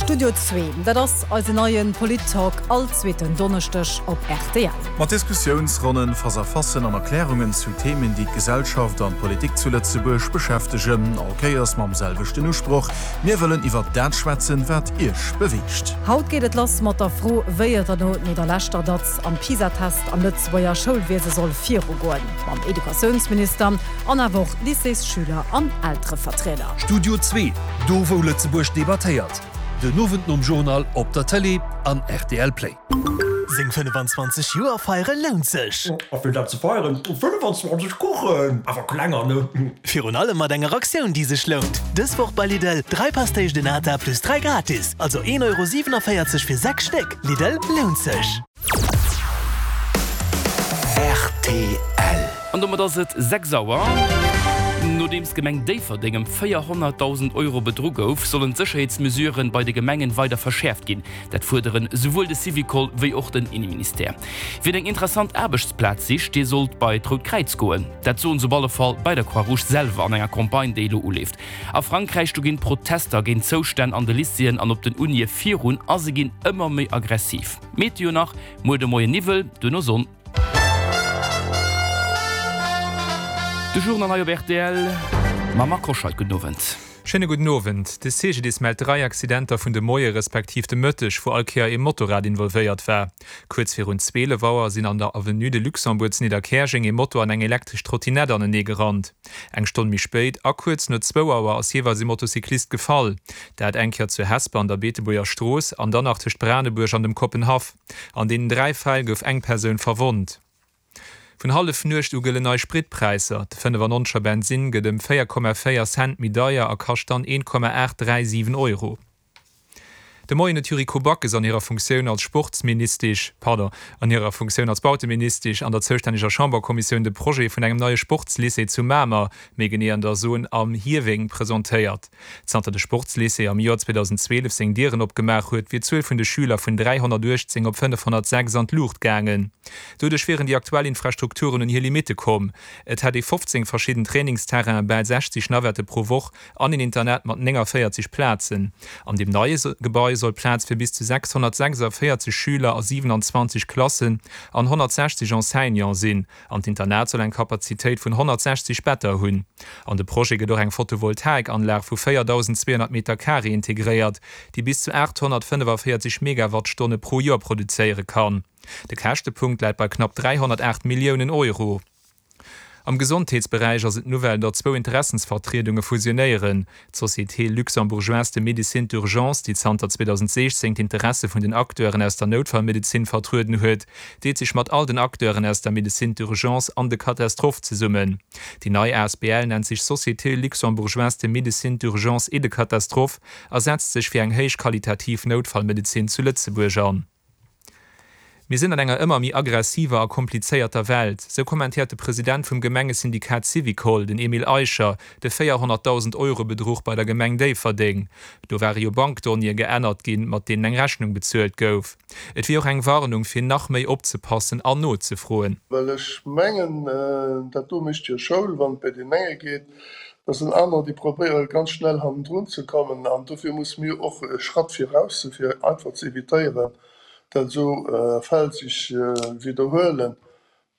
Studio Zwee, dat ass eisen neie Polit-Talk all zweeten Donneschdeg op rtl. Mat Diskussiounsronnen, Face-à-facen an Erklärungen zu Themen, déi d'Gesellschaft an d'Politik zu Lëtzebuerg beschäftegen. All Kéiers mam selwechten Usproch, Mir wëllen iwwer dat schwätzen, wat Iech beweegt. Haut geet et lass mat der Fro, wéi et elo no der leschter Datz am PISA-Test am Lëtzebuerger Schoulwiese soll virugoen. Mam Educatiounsminister an awer och Lycéesschüler an Elterevertrieder. Studio Zwee, do wou Lëtzebuerg debattéiert. Den Owend nom Journal op der Tëlee an rtl Play. Seng 25 Joer feiere lount sech! A fir dat ze feieren, 25 Kuchen, awer klenger, ne? Virun allem mat enger Aktioun déi sech lount! Dës Woch bei Lidl, 3 Pastéis de Nata plus 3 gratis, also 1,47 Euro fir 6 Stéck. Lidl, lount sech! Rtl. An domat ass et 6 Auer. Nodeems d'Gemeng Déifferdeng ëm 400.000 Euro bedru gouf, sollen d'Sécherheetsmesuren bei de Gemengen weider verschäerft ginn. Dat fuerderen souwuel de Syvicol wéi och den Inneministère. Wien eng interessant Aarbechtsplaz sicht, dee sollt bei d'Rout Kräiz goen. Dat soen se op alle Fall bei der Croix-Rouge selwer an enger Campagne, déi elo uleeft. A Frankräich, do ginn d'Protester géint d'Zoustänn an de Lycéeën an op den Unie virun a se ginn ëmmer méi aggressiv. Meteo nach, Muer de Moien Niwwel, duerno Sonn. De Journal hei op rtl mam Marc Hoscheid. Gudden Owend. Schéine gudden Owend. De CGDIS mellt 3 Accidenter vun de Moie respektiv de Mëtteg, wou all Kéier ee Motorrad involvéiert war. Kuerz virun 12 Auer sinn an der Avenue de Luxembourg zu Nidderkäerjeng ee Moto an eng elektresch Trottinett anenee gerannt. Eng Stonn méi spéit a kuerz no zwou Auer ass jeeweils ee Motocyclist gefall. Dat eng Kéier zu Hesper an der Beetebuerger Strooss an dann nach tëscht Branebuerg an dem Koppenhaff. An deenen 3 Fäll gouf eng Persoun verwonnt. Vun Hallefnuecht u gëllen nei Spritpräisser. De 95er Bensinn gëtt ëm 4,4 Cent méi deier a kascht dann 1,837 Euro. De Moien huet d'Yuriko Backes an hirer Funktioun als Sportsministesch, pardon, an hirer Funktioun als Bauteministesch an der zoustänneger Chamberkommissioun de Projet vun engem neie Sportslycée zu Mamer, méi genee an der Zon Am Hieweng, presentéiert. Zanter de Sportslycée am Joer 2012 seng Dieren opgemaach huet, wier d'Zuel vun de Schüler vun 318 op 506 an d'Luucht gaangen. Doduerch wieren déi aktuell Infrastrukturen un hir Limitte komm. Et hätt ee 15 verschidden Trainingsterrainen, bal 60 Navette pro Woch an een Internat mat 49 Plazen. An deem neie Gebai soll Plaz fir bis zu 646 Schüler a 27 Klassen an 160 Enseignante sinn. An d'Internat soll eng Kapazitéit vun 160 Better hunn. An de Projet gëtt och eng Photovoltaikanlag vu 4.200 Meter Carré integréiert, déi bis zu 845 Megawattstonne pro Joer produzéiere kann. De Käschtepunkt läit bei knapp 308 Milliounen Euro. Am Gesondheetsberäich ass et d'Nouvelle, datt zwou Interessensvertriedunge fusionéieren. D'Société luxembourgeoise de médecine d'urgence, déi zanter 2016 d'Interesse vun den Acteuren aus der Noutfallmedezin vertrueden huet, deet sech mat all den Acteuren aus der Médecine d'urgence an de catastrophes zesummen. Déi nei asbl nennt sech Société luxembourgeoise de médecine d'urgence et de catastrophes a setzt sech fir eng héichqualitativ Noutfallmedezin zu Lëtzebuerg an. Mir sinn an enger ëmmer méi aggressiver a komplizéierter Welt, sou kommentéiert de President vum Gemengesyndikat Syvicol, den Emile Eicher, de 400.000 Euro Bedruch bei der Gemeng Déifferdeng. Do ware jo Bankdonnéeë geännert ginn, mat deenen eng Rechnung bezuelt gouf. Et wier och eng Warnung, fir nach méi opzepassen an nozefroen. Well ech mengen, dat do mécht jo Schoul, wann et bei deen enge geet, da sinn anerer, déi probéiere ganz schnell hannendrun ze kommen. An dofir musse mir och e Schratt viraus sinn, fir einfach ze evitéieren, dat esou Fäll sech widderhuelen.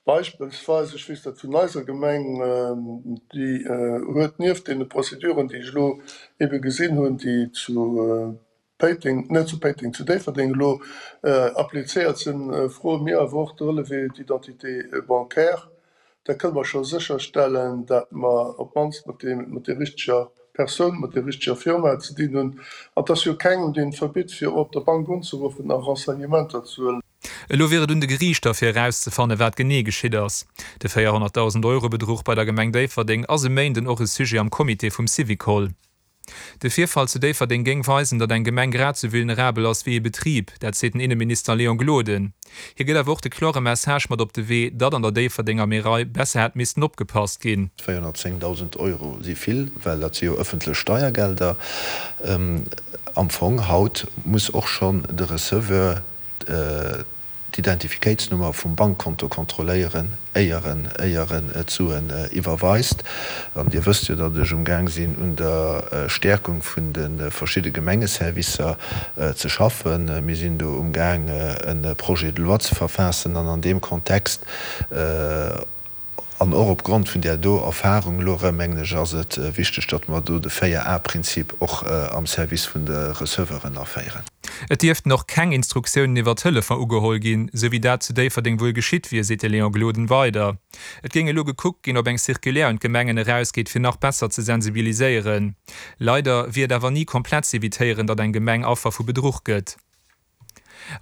Beispillsweis, ech weess dat vun eiser Gemeng, déi huet nieft deene Prozeduren, déi ech elo ebe gesinn hunn, déi zu Péiteng, net zu Péiteng, zu Déifferdeng elo applizéiert sinn, froe mir awer och de Relevé d'identité bancaire. Da kënne mer scho sécherstellen, datt mer op d'mannst mat deem, mat der richteger Persoun, mat der richteger Firma ze dinn hunn. An et ass jo kengem, deen et verbitt, fir op der Bank unzeruffen a Renseignementer ze huelen. Elo wier et un de Geriichter, fir erauszefannen, wat genee geschitt ass. De 400.000 Euro Bedruch bei der Gemeng Déifferdeng ass e Méinden och e Sujet am Comité vum Syvicol. De Virfall zu Déifferdeng géing weisen, datt eng Gemeng grad sou vulnerabel ass wéi ee Betrib. Dat seet den Inneminister Léon Gloden. Hie gëtt awer och de klore Message mat op de Wee, datt an der Déifferdenger Märei besser hätt missten opgepasst ginn. 410.000 Euro si vill, well dat si jo ëffentlech Steiergelder. Am Fong haut muss och schonn de Receveur. d'Identifikéitsnummer vum Bankkonto kontrolléieren, éier en, éier en d'Suen iwwerweist. An Dir wësst jo, datt ech umgaang sinn, un der Stäerkung vun de verschidde Gemengeservicer ze schaffen. Mir sinn do umgaang, e Projet de loi ze verfaassen an an deem Kontext, An och opgrond vun där do Erfahrung elo erëm, mengen ech, ass et wichteg, datt mer do de 4A-Prinzip och am Service vun de Receveuren aféieren. Et dierften och keng Instruktiounen iwwer Telefon ugeholl ginn, sou wéi dat zu Déifferdeng wuel geschitt wier, seet de Léon Gloden weider. Et géing elo gekuckt ginn, ob eng Circulaire un d'Gemengen erausgeet, fir nach besser ze sensibiliséieren. Leider wier et awer ni komplett z'evitéieren, datt eng Gemeng Affer vu Bedruch gëtt.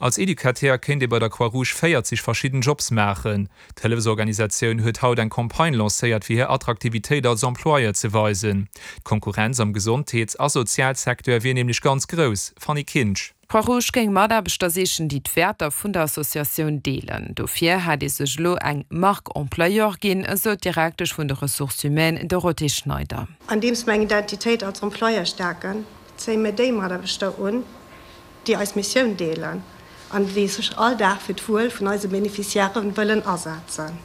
Als Educateur kéint ee bei der Croix-Rouge 40 verschidden Jobs maachen. D'Hëllefsorganisatioun huet haut eng Campagne lancéiert fir hir Attraktivitéit als Employeur ze weisen. D'Konkurrenz am Gesondheets a Sozialsecteur wier nämlech ganz grouss. Fanny Kinsch. D'Croix-Rouge géing Mataarbechter sichen, déi d'Wäerter vun der Associatioun deelen. Dofir hätt ee sech elo eng Marque employeur ginn, esou d'Direktesch vun de Ressources humaines Dorothée Schneider. Andeems mer eng Identitéit als Employeur stäerken, zéie mir déi Mataarbechter un, déi eis Missioun deelen an déi sech all Dag fir d'Wuel vun eise Beneficiairë wëllen asetzen.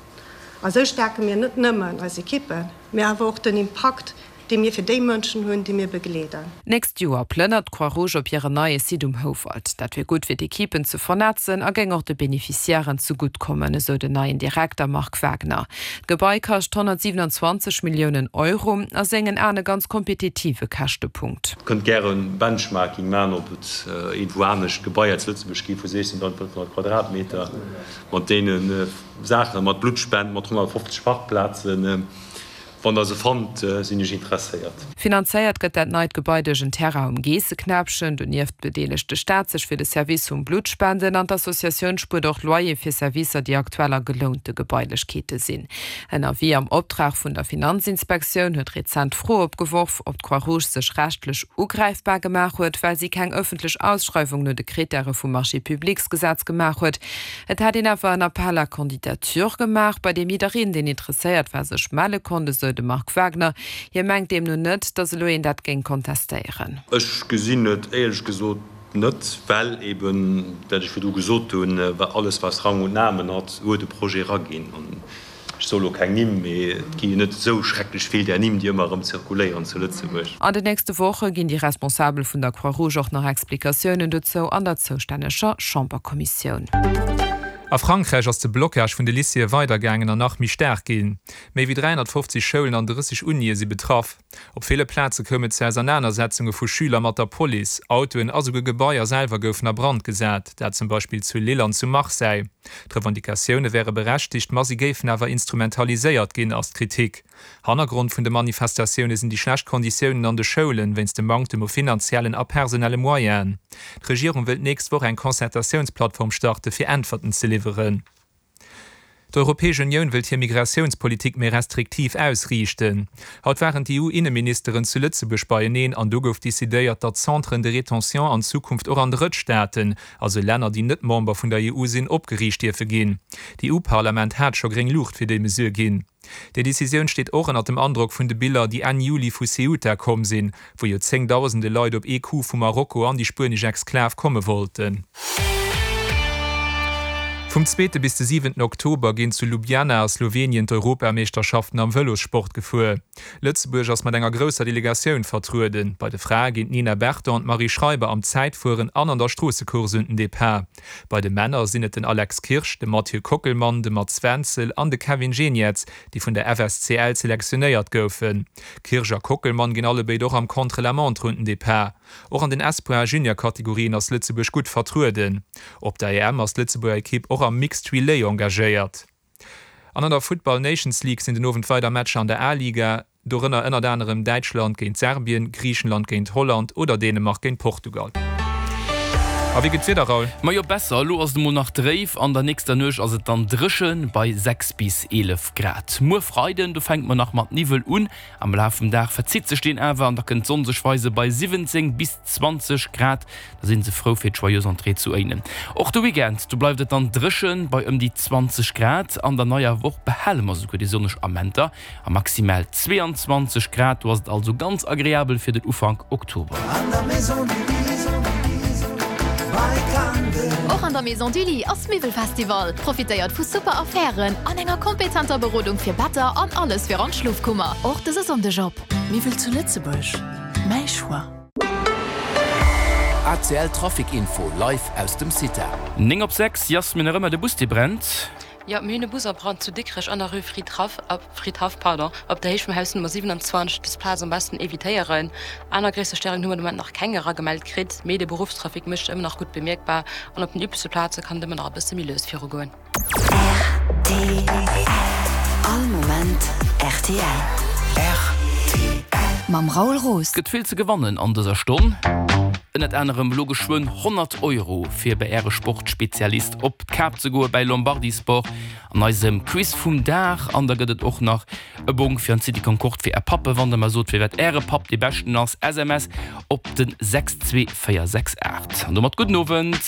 A sou stäerke mir net nëmmen eis Ekippen, mee awer och den Impakt, dee mir fir déi Mënschen hunn, déi mir begleeden. D'nächst Joer plënnert d'Croix-Rouge op hiren neie Site um Houwald. Dat wier gutt fir d'Ekippen ze vernetzen a géing och de Beneficiairen zegutt kommen, esou den neien Direkter Marc Wagner. D'Gebai kascht 127 Milliounen Euro, a sengen Aen e ganz kompetitive Käschtepunkt. Kënnt gären Benchmarking maan op et iergendwou anescht Gebaier zu Lëtzebuerg gi vu 16.500 Quadratmeter mat deene Saachen, mat Bluttspend, mat 150 Parkplazen. Wann der se fannt, sinn ech interesséiert. Finanzéiert gëtt dat neit Gebai duerch en Terrain um Geesseknäppchen. Donieft bedeelegt de Staat sech fir de Service vum Bluttspenden an d'Associatioun spuert och Loyer fir Servicer, déi aktuell a gelounte Gebailechkeete sinn. En Avis am Optrag vun der Finanzinspektioun huet rezent d'Fro opgeworf, ob d'Croix-Rouge sech rechtlech ugräifbar gemaach huet, well si keng ëffentlech Ausschreiwung no de Krittäre vum Marchés-publics-Gesetz gemaach huet. Et hätt een awer en Appel à candidatures gemaach, bei deem jiddereen, deen interesséiert war, sech melle konnt, esou de Marc Wagner. Hie mengt deemno net, datt elo een dat géing kontestéieren. Ech gesinn et éierlech gesot net, well eben, wat ech virdru gesot hunn, alles wat Rang und Namen hat, huet e Projet eraginn. An ech soe lo keng Nimm, mee et gi jo net esou schrecklech vill där Nimm, déi ëmmer erëm zirkuléieren zu Lëtzebuerg. An den nächste Woche ginn déi Responsabel vun der Croix-Rouge och nach Explikatiounen dozou an der zoustänneger Chamberkommissioun. A Frankräich ass de Blocage vun de Lycéeë weidergaangen an nach méi staark ginn. Méi wéi 350 Schoulen an 30 Unië si betraff. Op ville Plaze koum et zu Ausernanersetzunge vu Schüler mat der Police. Autoen a souguer Gebaier selwer goufen a Brand gesat, dat zum Beispill zu Lille an zu Marseille. D'Revendicatioune wäre berechtigt, ma si géifen awer instrumentaliséiert ginn, ass d'Kritik. Hannergrond vun de Manifestatioune sinn déi schlecht Konditiounen an de Schoulen, wéinst dem Manktem u finanziellen a personelle Moyenen. D'Regierung wëll d'nächst Woch eng Concertatiounsplattform starte fir Äntwerten ze liwweren. D'Europäesch Unioun wëllt hir Migratiounspolitik méi restriktiv ausriichten. Haut waren d'EU-Inneministeren zu Lëtzebuerg beieneen an do gouf decidéiert, datt Centren de rétention an Zukunft och an Drëttstaaten, also Länner déi net Member vun der EU sinn, opgeriicht dierfe ginn. D'EU-Parlament hat scho gréng Luucht fir déi Mesure ginn. Déi Decisioun steet och ënnert dem Androck vun de Biller, déi Enn Juli vu Ceuta komm sinn, wou jo zéngdausende Leit op ee Coup vu Marokko an déi spuenesch Exklav komme wollten. Vum zweete bis de siwenten Oktober ginn zu Ljubljana a Slowenien d'Europameeschterschaften am Vëlossport gefuer. Lëtzebuerg ass mat enger grousser Delegatioun vertrueden. Bei de Frae ginn d'Nina Berton an d'Marie Schreiber am Zäitfueren an an der Stroossecourse un den Depart. Bei de Männer sinn et den Alex Kirsch, de Mathieu Kockelmann, de Mats Wenzel an de Kevin Geniets, déi vun der FSCL selektionéiert goufen. Kirsch a Kockelmann ginn allebéid och am Contre-la-montre un den Depart. Och an den Espoir a Junior-Kategorien ass Lëtzebuerg gutt vertrueden. Op der EM ass d'Lëtzebuerger Ekipp och am Mixed Relay engagéiert. An an der Futtball Nations League sinn den Owend weider Matcher an der A-Liga, dorënner ënnert anerem Däitschland géint Serbien, Griichenland géint Holland oder Dänemark géint Portugal. A wéi gëtt d'Wieder, Raoul? Majo besser, elo ass et emol nach dréif, an der nächster Nuecht ass et dann dréchen bei 6 bis 11 Grad. Muer Freiden, do fänke mer nach mat Niwwel un, am Laf vum Dag verzitt sech deen awer an da kënnt d'Sonn sech weise bei 17 bis 20 Grad. Da sinn se frou fir d'Joyeuse Entrée zu Éinen. Och de Weekend, do bleift et dann dréchen bei ëm déi 20 Grad. An der neier Woch behale mer souguer déi sonneg Amenter a maximal 22 Grad. Do ass et also ganz agreabel fir den Ufank Oktober. Och an der Maison du Lit ass Miwwelfestival. Profitéiert vu super Affären an enger kompetenter Berodung fir Better an alles fir an d'Schlofkummer. Och dëse Sonndeg op. Miwwel zu Lëtzebuerg, mäi Choix. ACL Trafic Info live aus dem CITA. 9 op 6, Yasmin, nach ëmmer de Bus dee brennt. Jo, mir hunn e Bus a Brand zu Dikrech an der Rue Fridhaff, Fridhaff, pardon, op der Héicht vum Haus Nummer 27. Dës Plaz am beschten evitéieren. Aner gréisser Stéierungen hu mer de Moment nach keng eragemellt kritt, mee de Beruffstrafic mécht sech ëmmer nach gutt bemierkbar an op den übleche Plaze kann et ëmmer nach e bësse méi lues virugoen. Rtl. All Moment rtl. Rtl. Mam Raoul Roos. Gëtt vill ze gewannen an dëser Stonn. Ënnert anerem elo geschwënn 100 Euro fir bei Äre Sportspezialist op d'Kap ze goe bäi Lombardi Sport an eisem Quiz vum Dag. An da gëtt et och nach e Bong fir an d'City Concorde fir Är Pappe wann der mer sot firwat Äre Papp dee beschten ass. SMS op den 62468. An domat gudden Owend.